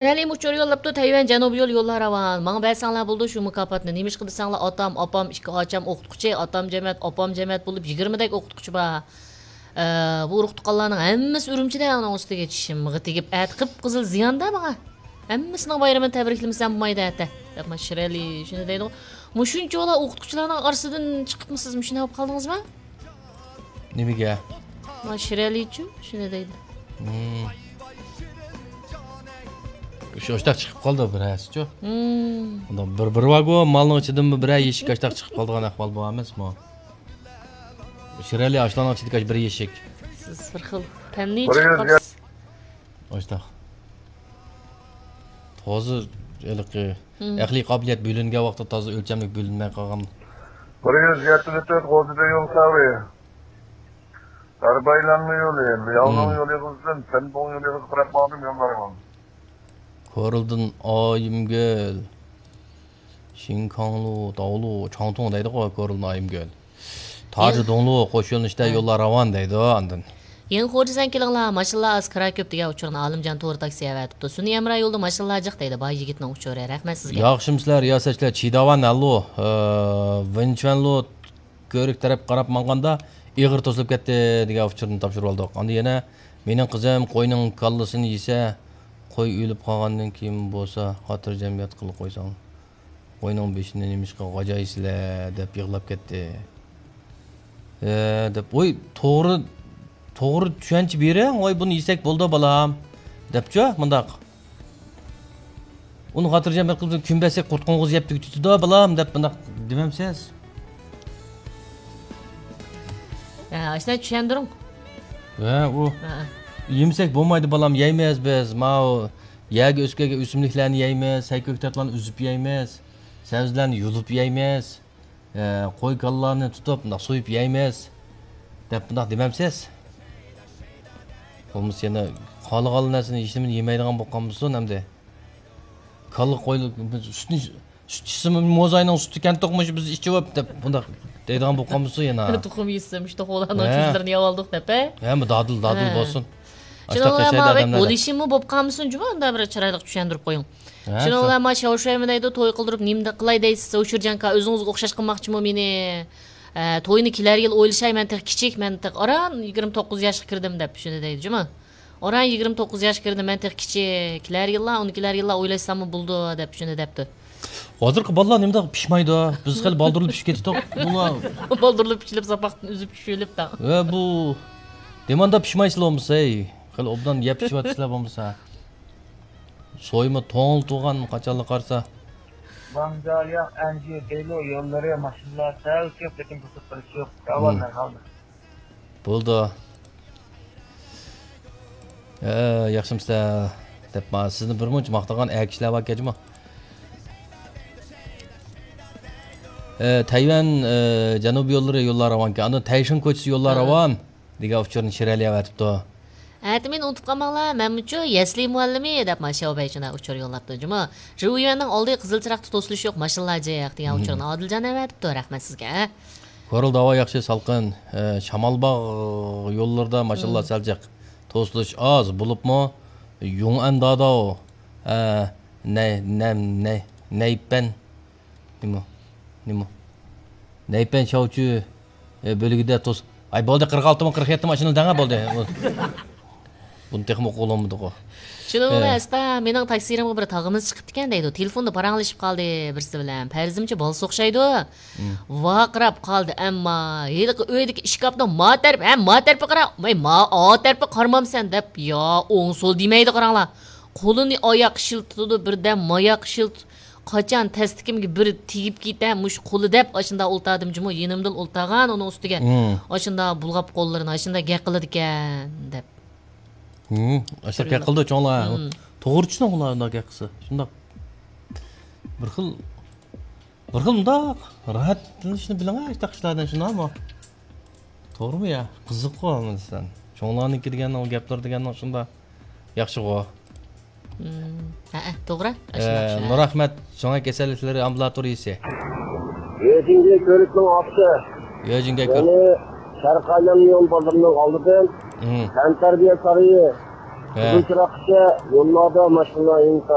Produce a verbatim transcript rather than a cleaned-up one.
شىرئەلىمۇ ئۇچۇر يوللاپتۇ، تەيۋەن جەنۇبىي يول يوللار راۋان. ماڭا بەرسەڭلار بولىدۇ شۇ مۇكاپاتنى. نېمىشقا دېسەڭلار، ئاتام، ئاپام، ئىككى ئاچام ئوقۇتقۇچى، ئاتام جەمەت، ئاپام جەمەت بولۇپ يىگىرمىدەك ئوقۇتقۇچى بار. ئە، بۇ ئۇرۇق-تۇغقانلارنىڭ ھەممىسى ئۈرۈمچىدە، ئۇنىڭ ئۈستىگە چىشىمغا تېگىپ، ئەتە قىپقىزىل زىياندا ماڭا. ھەممىسىنىڭ بايرىمىنى تەبرىكلىمىسەم بولمايدۇ ئەتە، دەپ مانا شىرئەلى شۇنى دەيدىغۇ. مۇشۇنچىۋالا ئوقۇتقۇچىلارنىڭ ئارىسىدىن چىقىپمۇ سىز؟ مۇشۇنداق بولۇپ قالدىڭىزمۇ؟ نېمىگە؟ مانا شىرئەلىچۇ شۇنى دەيدۇ. ھىم. شۇ ئاشتاق چىقىپ قالدى بىر ھەسىچۇ. ھىم. بۇنداق بىر، بىر ۋاگون مالنىڭ ئىچىدىنمۇ بىرەر يېشىك ئاشتاق چىقىپ قالىدىغان ئەھۋال بار ئەمەسمۇ؟ شىرئەلى ئاشلارنىڭ ئىچىدىكى بىر يېشىك. سىز بىر خىل پەننى بىر يۈز چىقىپ قالىسىز. ئاشتاق. تازا ھېلىقى ھىم. ئەقلىي قابىلىيەت بۆلۈنگەن ۋاقىتتا تازا ئۆلچەملىك بۆلۈنمەي قالغان. بىر يۈز يەتتە تۆت غوزىدە يول ساۋى. داربايلانما يولى، لياۋنىڭ ھىم. يولى قىزدىن، سەنبوڭ يولى قىزغا قاراپ ماڭدىم يوللارغا. كورلدىن ئايىمگۈل. شىنكاڭلۇ، داۋلۇ، چاڭتۇڭ دەيدىغۇ كورلدىن ئايىمگۈل. تاجى دۇڭلۇ، قوش يۆنىلىشتە ھە. يوللار راۋان دەيدۇ ئاندىن. يېڭى خوجا سەن كېلىڭلار، ماشىنىلار ئاز، كىرا كۆپ دېگەن ئۇچۇرنى ئالىمجان تور تاكسى ئەۋەتىپتۇ. سۈنئىي ھەمراھ يولدا ماشىنىلار جىق دەيدۇ، باي يىگىتنىڭ ئۇچۇرى. رەھمەت سىزگە. ياخشىمسىلەر رىياسەتچىلەر، چىداۋان ھەللۇ، ئە، ۋېنچۈەنلۇ كۆۋرۈك تەرەپ قاراپ ماڭغاندا ئېغىر توسۇلۇپ كەتتى دېگەن ئۇچۇرنى تاپشۇرۇۋالدۇق. ئاندىن يەنە مېنىڭ قىزىم قوينىڭ كاللىسىنى يېسە، قوي ئۆلۈپ قالغاندىن كېيىن بولسا خاتىرجەم ياتقىلى قويساڭ. قوينىڭ بېشىنى نېمىشقا غاجايسىلەر دەپ يىغلاپ كەتتى. ھە، دەپ، ۋوي، توغرا، توغرا چۈشەنچە بېرىڭ، ۋاي، بۇنى يېسەك بولىدۇ، بالام، دەپچۇ، مۇنداق. ئۇنى خاتىرجەم بىر قىلىپ، كۈن بەرسەك قۇرت قوڭغۇز يەپ تۈگىتىدۇ، بالام، دەپ مۇنداق دېمەمسىز؟ ھە، ئاشۇنداق چۈشەندۈرۈڭ. ھە، ئۇ، ھە. يېمىسەك بولمايدۇ، بالام، يەيمىز بىز، ماۋۇ يەرگە ئۆسۈپ كەلگەن ئۆسۈملۈكلەرنى يەيمىز، سەي كۆكتاتلارنى ئۈزۈپ يەيمىز، سەۋزىلەرنى يۇلۇپ يەيمىز. ئە، قوي كاللارنى تۇتۇپ، مۇنداق سويۇپ يەيمىز، دەپ مۇنداق دېمەمسىز؟ بولمىسا يەنە خالىغان نەرسىنى، ھېچنېمىنى يېمەيدىغان بولۇپ قالمىسۇن ئەمدى. كاللا، قوي، سۈتنى، سۈت ئىچسىمۇ موزاينىڭ سۈتى كەنتۇقمۇش، بىز ئىچىۋاپ، دەپ مۇنداق دەيدىغان بولۇپ قالمىسۇن يەنە. تۇخۇم يېسە، مۇشۇ توخۇلارنىڭ ھە. چۈجىلىرىنى يەۋالدۇق دەپ، ھە؟ ھە، بۇ دادىل، دادىل ھە. بولسۇن. شۇنىڭ ئاشتاق بىلەن ياشايدۇ ماۋۇ ئادەملەر دەپ. بولۇشىمۇ بولۇپ قالمىسۇن جۇمۇ، ئۇنداق بىر چىرايلىق چۈشەندۈرۈپ قويۇڭ. ھە، شۇنىڭ شۇ. بىلەن ما شاۋشۇيمۇ دەيدۇ، توي قىلدۇرۇپ نېمە قىلاي دەيسىز، ئۇ شىرجانكا ئۆزىڭىزگە ئوخشاش قىلماقچىمۇ مېنى؟ ئە، توينى كېلەر يىل ئويلىشاي، مەن تېخى كىچىك، مەن تېخى ئاران يىگىرمە توققۇز ياشقا كىردىم دەپ شۇنى دەيدۇ جۇمۇ. ئاران يىگىرمە توققۇز ياشقا كىردىم، مەن تېخى كىچىك، كېلەر يىللار، ئۇنى كېلەر يىللار ئويلاشساممۇ بولىدۇ دەپ شۇنى دەپتۇ. ھازىرقى بالىلار نېمىداق پىشمايدۇ؟ بىز خېلى بالدۇرلا پىشىپ كېتىشتۇق. بۇلار بالدۇرلا پىشىلىپ، ساپاقتىن ئۈزۈپ چۈشۈلۈپ تا. ۋە بۇ دېماندا پىشمايسىلەر بولمىسا، ھەي. خېلى ئوبدان يەپ پىشىۋاتىسىلەر بولمىسا. سويما توڭلىتىۋالغان قاچانلا قارىسا. ۋاڭجايا ئەنجۈ دېلو يوللىرى ماشىنىلار سەل كۆپ، لېكىن توسۇپ قېلىش يوق. راۋان مەھالدا. بولدى. ھە، ياخشىمسىلەر؟ دەپ، ما، سىزنى بىر مۇنچە ماختىغان ئەر كىشىلەر باركەن جۇمۇ. ئە، تەيۋەن، ئە، جەنۇبىي يوللىرى يوللار راۋانكەن. ئاندىن تەيشىڭ كوچىسى يوللار ھە. راۋان دېگەن ئۇچۇرنى شىرئەلى ئەۋەتىپتۇ. ئەتە مېنى ئۇنتۇپ قالماڭلار، مەنمۇچۇ يەسلى مۇئەللىمى دەپ، ما، شياۋبەي شۇنداق ئۇچۇر يوللاپتۇ جۇمۇ. رېۋيۈەننىڭ ئالدى قىزىل چىراغتا توسۇلۇش يوق، ماشىنىلار جىق دېگەن ئۇچۇرنى ئادىلجان ئەۋەتىپتۇ، رەھمەت سىزگە. كورلىدا ھاۋا ياخشى، سالقىن. ئە، شامالباغ يوللىرىدا ماشىنىلار سەل جىق. توسۇلۇش ئاز، بولۇپمۇ يۇڭئەن داداۋ، ئە، نەي-، نەم-، نەي-، نەيپەن. نېمە؟ نېمە؟ نەيپەن شاۋچۈ، ئە، بۆلىكىدە توس-، ئاي، بولدى، قىرىق ئالتىمۇ، قىرىق يەتتىمۇ ئاشۇنى دەڭە، بولدى. بۇنى تېخىمۇ ئوقۇغىلى بولمىدىغۇ. شۇنىڭ بىلەن ھە. ئەستا مېنىڭ تاكسىرىمغا بىر تاغىمىز چىقىپتىكەن دەيدۇ. تېلېفوندا پاراڭلىشىپ قالدى بىرسى بىلەن. پەرىزىمچە بالا سوخشايدۇ. مم. ۋارقىراپ قالدى، ئەمما ھېلىقى ئۆيدىكى ئىشكاپنىڭ ما تەرىپى، ھە، ما تەرىپى قارا، ۋاي، ما ئا تەرىپى قارىمامسەن دەپ، يا ئوڭ سول دېمەيدۇ قاراڭلار. قولىنى ئاياق شىلتىدۇ، بىردەم ماياق شىلت-، قاچان تەستىكىمگە بىر تېگىپ كېتە، مۇشۇ قولى دەپ، ئاشۇنداق ئولتاردىم جۇمۇ، يېنىمدىلا ئولتارغان ئۇنىڭ ئۈستىگە. مم. ئاشۇنداق بۇلغاپ قوللىرىنى، ئاشۇنداق گەپ قىلىدىكەن دەپ. ھىم، ئاشۇنداق گەپ قىلىدۇ چوڭلار. ھىم. توغرا چۈشىنىڭ ئۇلار ئۇنداق گەپ قىلسا. شۇنداق بىر خىل، بىر خىل مۇنداق راھەتلىنىشنى بىلىڭە، ئاشۇنداق ئىشلاردىن شۇنداقمۇ؟ توغرىمۇ يا؟ قىزىققۇ ئەمەسەن. چوڭلارنىڭكى دېگەننىڭ، گەپلىرى دېگەننىڭ شۇنداق ياخشىغۇ. ھىم، ھەئە، توغرا. ئاشۇنداق، ئە، شۇنداق. نۇرئەخمەت، شۇڭا كېسەللىكلىرى ئامبۇلاتورىيىسى. يۆجىڭگە كۆۋرۈكنىڭ ئاستى. يۆجىڭگە كۆ- يەنى شەرقىي ئايلانما يول بازىرىنىڭ ئالدىدىن مم. تەنتەربىيە سارىيى قىزىل چىراغقىچە يوللاردا ماشىنىلار ئىنتا